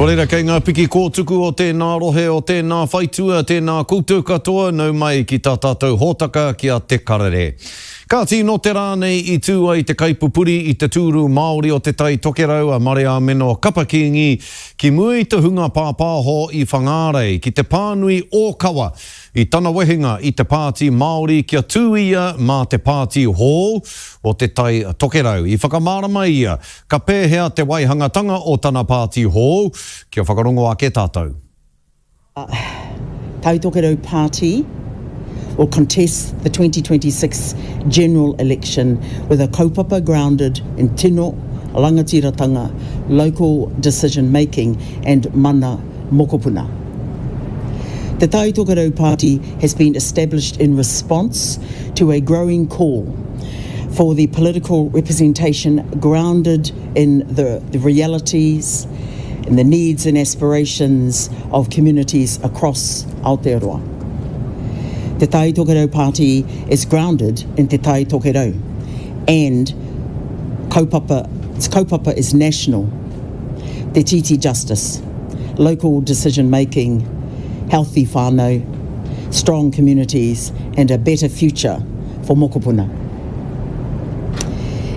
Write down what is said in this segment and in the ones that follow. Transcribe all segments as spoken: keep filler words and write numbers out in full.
Nō reira, kei ngā piki kōtuku o tēnā rohe, o tēnā whaitua, tēnā koutou katoa, nau mai ki tā tātou hōtaka ki a Te Karere. Kāti, nō te rā nei i tū ai te kaipupuri i te tūru Māori o Te Tai Tokerau a Mareāmeno Kapa Kīngi ki mua i te hunga pāpāho i Whangārei ki te pānui ōkawa i tana wehenga i te Pāti Māori kia tū ia mā te pāti hou o Te Tai Tokerau. I whakamārama ia ka pēhea te waihangatanga o tana pāti hou, kia whakarongo ake tātou. Tai Tokerau Party will contest the twenty twenty-six general election with a kaupapa grounded in tino, rangatiratanga, local decision making and mana mokopuna. The Tai Tokerau Party has been established in response to a growing call for the political representation grounded in the, the realities and the needs and aspirations of communities across Aotearoa. Te Tai Tokerau Party is grounded in Te Tai Tokerau and kaupapa, its kaupapa is national, Te Titi justice, local decision making, healthy whānau, strong communities and a better future for mokopuna.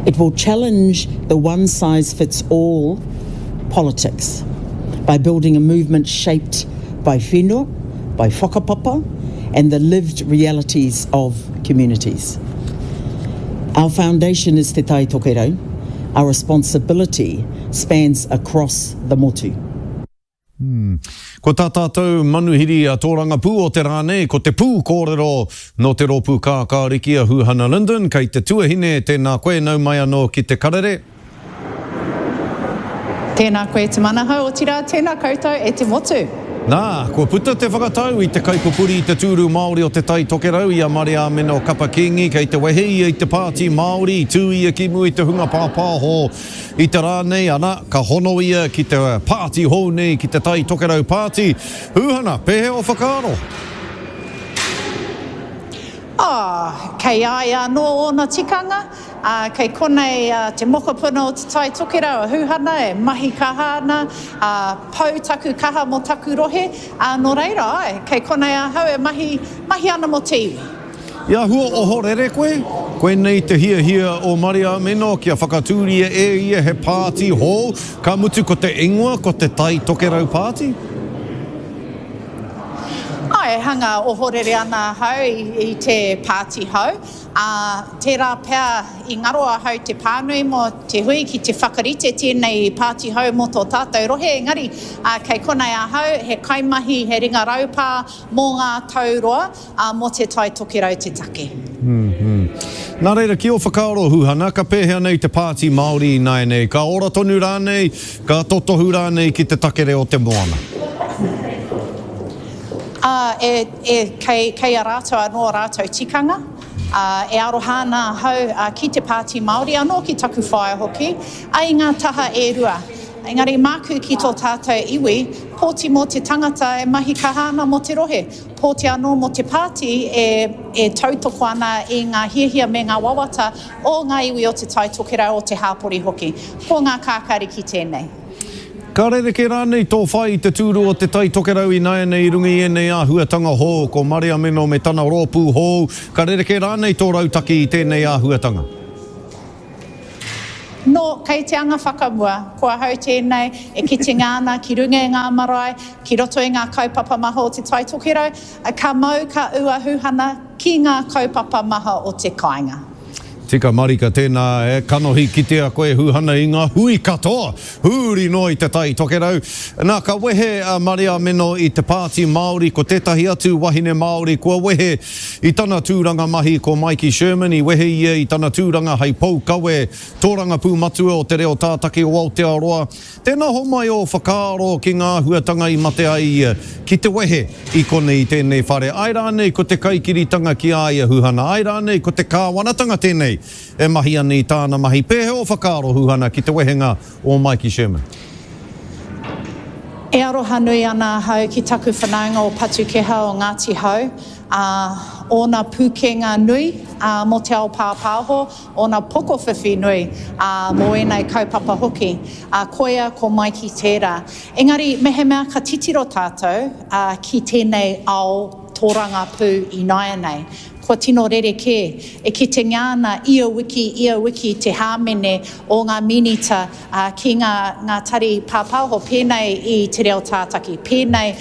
It will challenge the one-size-fits-all politics by building a movement shaped by whenua, by whakapapa, and the lived realities of communities. Our foundation is Te Tai Tokerau. Our responsibility spans across the motu. Hmm. Ko tā tātou manuhiri a tōrangapū o te rā nei, ko te pū kōrero nō te rōpū kākāriki a Huhana Lyndon, kei te tuahine, tēnā koe, nau mai anō ki Te Karere. Tēnā koe te manahau, otirā, tēnā koutou e te motu. Nā, kua puta te whakatau i te kaipupuri i te tūru Māori o Te Tai Tokerau i a Mareāmeno Kapa Kīngi, kei te wehe ia i te pāti Māori, i tū ia ki mua i te hunga pāpāho i te rā nei, ana, ka hono ia ki te pāti hou nei, ki te Tai Tokerau Pāti. Huhana, pēhea o whakaaro? Oh, kei a ia anō ōna tikanga, uh, kei konei uh, te mokopuna o Te Tai Tokerau a Huhana e mahi kaha ana, uh, pau taku kaha mō taku rohe, uh, nō reira, ai, kei konei ahau e mahi, mahi ana mō te iwi. I āhua ohorere koe? Koinei te hiahia o Mareāmeno kia whakatūria e ia he pāti hou, ka mutu ko te ingoa, ko te Tai Tokerau Pāti? Ai, hanga ohorere ana ahau i, i te pāti hou. Uh, tērā pea i ngaro ahau te pānui mō te hui ki te whakarite tēnei pāti hou mō tō tātou rohe. Engari, uh, kei konei ahau, he kaimahi, he ringa raupā mō ngā tauroa, uh, mō Te Tai Tokerau te take. Mm-hmm. Nā reira, ki o whakaaro, Huhana, ka pēhea nei te pāti Māori ināianei? Ka ora tonu rānei, ka totohu rānei ki te takere o te moana? Uh, e, e, kei, kei a rātou anō rātou tikanga, uh, e aroha ana ahau uh, ki te pāti Māori, anō ki taku whaea hoki, a i ngā taha e rua. Engari māku ki tō tātou iwi, pōti mō te tangata e mahi kaha ana mō te rohe. Pōti anō mō te pāti e, e tautoko ana i ngā hiahia me ngā wawata o ngā iwi o Te Tai Tokerau o te hāpori hoki. Ko ngā kākāriki tēnei. Ka rerekē rānei tō whai i te tūru o Te Tai Tokerau ināianei i runga i ēnei āhuatanga hou, ko Mareāmeno me tana rōpū hou, ka rerekē rānei tō rautaki i tēnei āhuatanga? Nō, kei te anga whakamua, ko ahau tēnei e kitenga ana ki runga i ngā marae, ki roto i ngā kaupapa maha o Te Tai Tokerau, ka mau ka ua Huhana ki ngā kaupapa maha o te kāinga. Tika marika tēnā e kanohi kitea koe Huhana i ngā hui katoa, huri noa i Te Tai Tokerau. Nā, ka wehe a Mareāmeno i te pāti Māori, ko tētahi atu wahine Māori kua wehe i tana tūranga mahi ko Maiki Sherman, i wehe ia i tana tūranga hei poukawe tōrangapū matua o te reo tātaki o Aotearoa. Tēnā homai o whakaaro ki ngā āhuatanga i mate ai ia ki te wehe i konei i tēnei whare. Ai rānei ko te kaikiritanga ki a ia Huhana, ai rānei ko te kāwanatanga tēnei e mahi ana i tāna mahi. Pēhea o whakaaro Huhana ki te wehenga o Maiki Sherman? E aroha nui ana ahau ki taku whanaunga o Patukeha o Ngāti Hau, uh, ōna pūkenga nui mō te ao pāpāho, ōna pokowhiwhi nui mō ēnei kaupapa hoki. Koia ko Maiki tērā. Engari, mehemea ka titiro tātou ki tēnei ao tōrangapū ināianei, kua tino rerekē, e kitengia ana ia wiki, ia wiki te hāmene o ngā minita ki ngā, ngā tari pāpāho, pēnei i Te Reo Tātaki, pēnei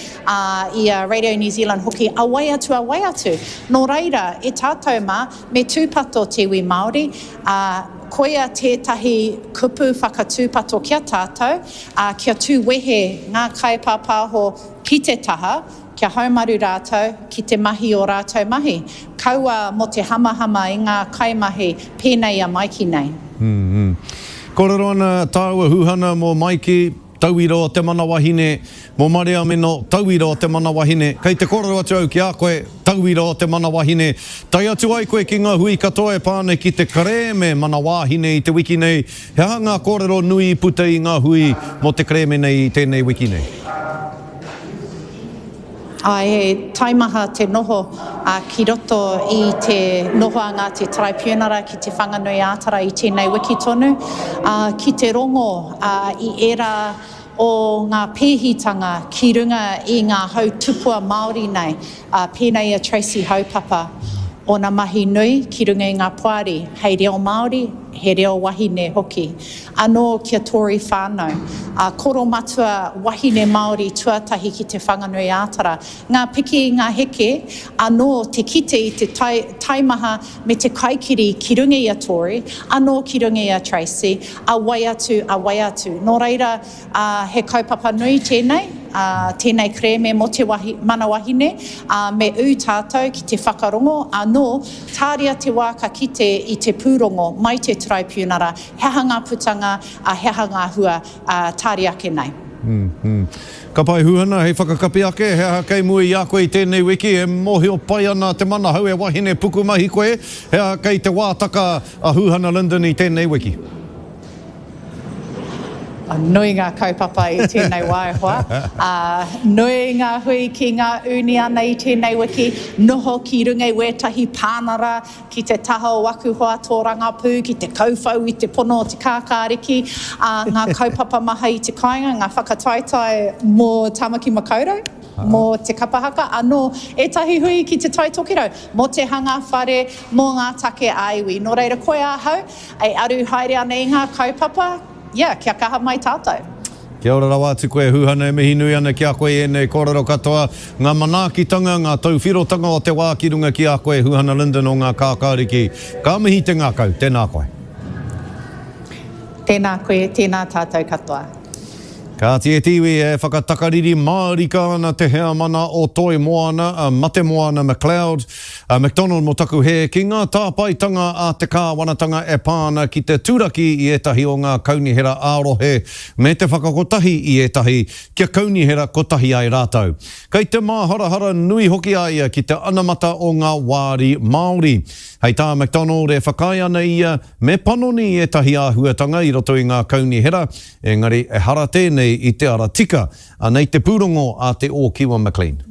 i a Radio New Zealand hoki, a wai atu, a wai atu. Nō reira, e tātou mā, me tūpato te iwi Māori, ā, koia tētahi kupu whakatūpato ki a tātou, ā, kia tū wehe ngā kaipāpāho ki te taha, kia haumaru rātou ki te mahi o rātou mahi, kaua mō te hamahama i ngā kaimahi pēnei i a Maiki nei. Mm-hmm. Kōrero ana tāua Huhana mō Maiki, tauira o te mana wahine, mō Mariameno, tauira o te mana wahine. Kei te kōrero atu au ki a koe, tauira o te mana wahine. Tae atu ai koe ki ngā hui katoa e pā ana ki te kerēme mana wāhine i te wiki nei. He aha ngā kōrero nui i puta i ngā hui mō te kerēme nei i tēnei wiki nei? Āe, he taimaha te noho ki roto i te nohoanga a te Taraipiunara ki Te Whanganui-ā-Tara i tēnei wiki tonu, ki te rongo i ērā o ngā pēhitanga ki runga i ngā hau tupua Māori nei, pēnei i a Tracy Haupapa, ōna mahi nui ki runga i ngā poari hei reo Māori, he reo wahine hoki. Anō ki a Tory whānau, a koromatua wahine Māori tuatahi ki Te Whanganui-ā-Tara. Ngā piki, ngā heke, anō te kite i te taimaha me te kaikiri ki runga i a Tory, anō ki runga i a Tracy, a wai atu, a wai atu. Nō reira, he kaupapa nui tēnei, tēnei kerēme mō te mana wahine, me ū tātou ki te whakarongo, anō, tāria te wā ka kite i te pūrongo mai te Taraipiunara, he aha ngā putanga, he aha ngā hua, tāria ake nei. Mm-hmm. Ka pai Huhana, hei whakakapi ake, he aha kei mua i a koe i tēnei wiki, e mōhio pai ana te manahau e wahine pukumahi koe, he aha kei te wātaka a Huhana Lyndon i tēnei wiki? Nui ngā kaupapa i tēnei wā e hoa. Nui ngā hui ki ngā ūniana i tēnei wiki, noho ki runga i wētahi pānara, ki te taha o aku hoa tōrangapū, ki te kauwhau i te pono o te kākāriki, ngā kaupapa maha i te kāinga, ngā whakataetae mō Tāmaki Makaurau, mō te kapa haka, anō ētahi hui ki te Tai Tokerau, mō te hanga whare, mō ngā take ā-iwi. Nō reira, koe ahau, e aru haere ana i ngā kaupapa, yeah, kia kaha mai tātou. Kia ora rawa atu koe, Huhana, e mihi nui ana ki a koe ēnei kōrero katoa, ngā manaakitanga, ngā tauwhirotanga o te wā ki runga ki a koe, Huhana Lyndon o ngā kākāriki. Ka mihi te ngākau, tēnā koe. Tēnā koe, tēnā tātou katoa. Kāti e te iwi e whakatakariri mārika ana te heamana o Toi Moana, a Mate Moana McLeod, a McDonald mō taku hē, ki ngā tāpaetanga a te kāwanatanga e pā ana ki te turaki i ētahi o ngā kaunihera ā-rohe me te whakakotahi i ētahi kia kaunihera kotahi ai rātou. Kei te māharahara nui hoki a ia ki te anamata o ngā wāri Māori. Hei tā McDonald e whakaae ana ia me panoni i ētahi āhuatanga i roto i ngā kaunihera, engari ehara tēnei i te ara tika. Anei te pūrongo a te Ōkiwa McLean.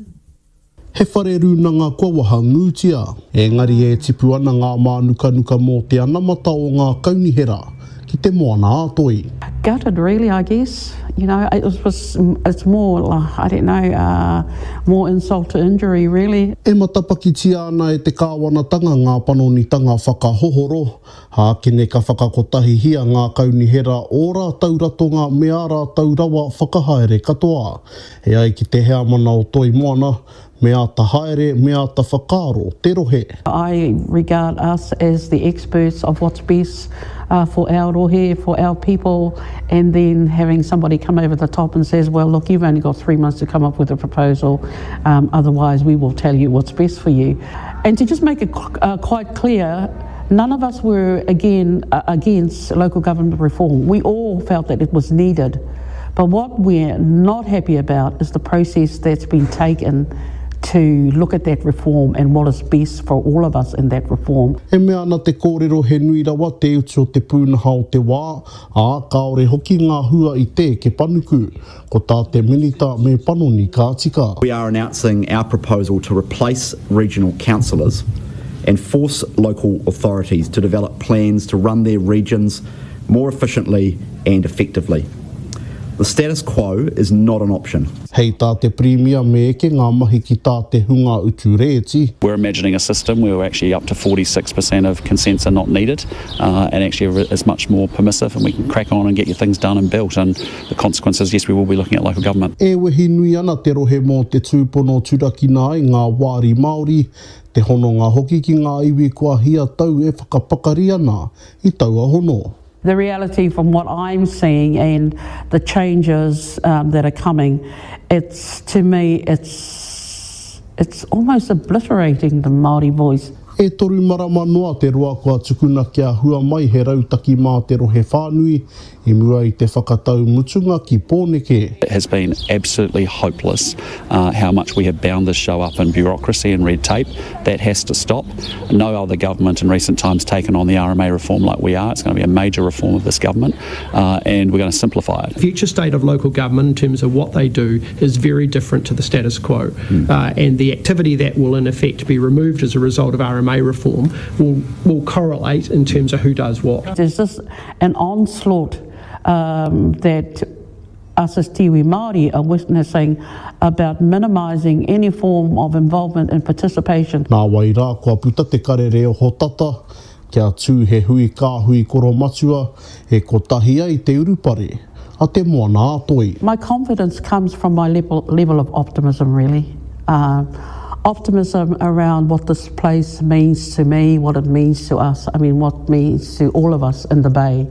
He whare rūnanga kua wahangūtia, engari e tipu ana ngā mānukanuka mō te anamata o ngā kaunihera ki te moana ā-toi. Gutted really, I guess. You know, it was, it's more, I don't know, uh, more insult to injury really. E matapakitia ana e te kāwanatanga ngā panonitanga whakahohoro, hākene ka whakakotahihia ngā kaunihera o rātou ratonga me ā rātou rawa whakahaere katoa. E ai ki te heamana o Toi Moana, me āta haere, me āta whakaaro te rohe. I regard us as the experts of what's best uh, for our rohe, for our people, and then having somebody come over the top and says, well, look, you've only got three months to come up with a proposal, um, otherwise we will tell you what's best for you. And to just make it uh, quite clear, none of us were, again, uh, against local government reform. We all felt that it was needed. But what we're not happy about is the process that's been taken to look at that reform and what is best for all of us in that reform. E mea ana te kōrero he nui rawa te utu o te pūnaha o te wā, ā, kāore hoki ngā hua i te eke panuku. Ko tā te minita me panoni ka tika. We are announcing our proposal to replace regional councillors and force local authorities to develop plans to run their regions more efficiently and effectively. The status quo is not an option. Hei tā te Pirimia me eke ngā mahi ki tā te hunga utu rēti. We're imagining a system where we're actually up to forty-six percent of consents are not needed, uh, and actually is much more permissive, and we can crack on and get your things done and built, and the consequences, yes, we will be looking at local government. E wehi nui ana te rohe mō te tūpono turakina ai ngā wāri Māori, te hononga hoki ki ngā iwi kua hia tau e whakapakari ana i taua hono. The reality from what I'm seeing and the changes, um, that are coming, it's, to me, it's, it's almost obliterating the Māori voice. E toru marama noa te roa kua tukuna kia hua mai he rautaki mā te rohe whānui i mua i te whakatau mutunga ki Pōneke. It has been absolutely hopeless, uh, how much we have bound this show up in bureaucracy and red tape. That has to stop. No other government in recent times taken on the R M A reform like we are. It's gonna be a major reform of this government, uh, and we're gonna simplify it. The future state of local government in terms of what they do is very different to the status quo, mm. uh, and the activity that will in effect be removed as a result of R M A reform will, will correlate in terms of who does what. There's just an onslaught, um, that us as te iwi Māori are witnessing about minimising any form of involvement and participation. Nā wai rā kua puta te karere o hotata, kia tū he hui kāhui koromatua, e kotahi ai te urupare a te moana ātoi. My confidence comes from my level, level of optimism, really. Uh, optimism around what this place means to me, what it means to us, I mean, what it means to all of us in the Bay.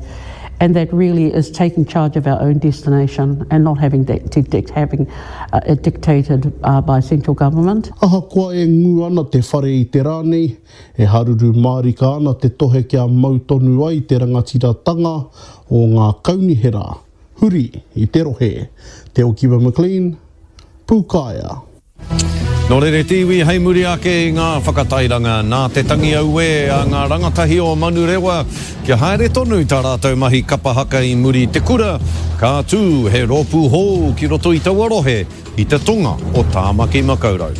And that really is taking charge of our own destination and not having that to dict, having, uh, it dictated, uh, by central government. Ahakoa e ngu ana te whare i te rānei, e haruru mārika ana te tohe kia mau tonu ai te rangatiratanga o ngā kaunihera, huri i te rohe. Te Okiwa McLean, Pūkaea. Nō rere te iwi hei muri ake i ngā whakatairanga nā te tangi auē a ngā rangatahi o Manurewa kia haere tonu tā rātou mahi kapahaka i muri te kura, ka tū he rōpū hou ki roto i taua rohe i te tonga o Tāmaki Makaurau.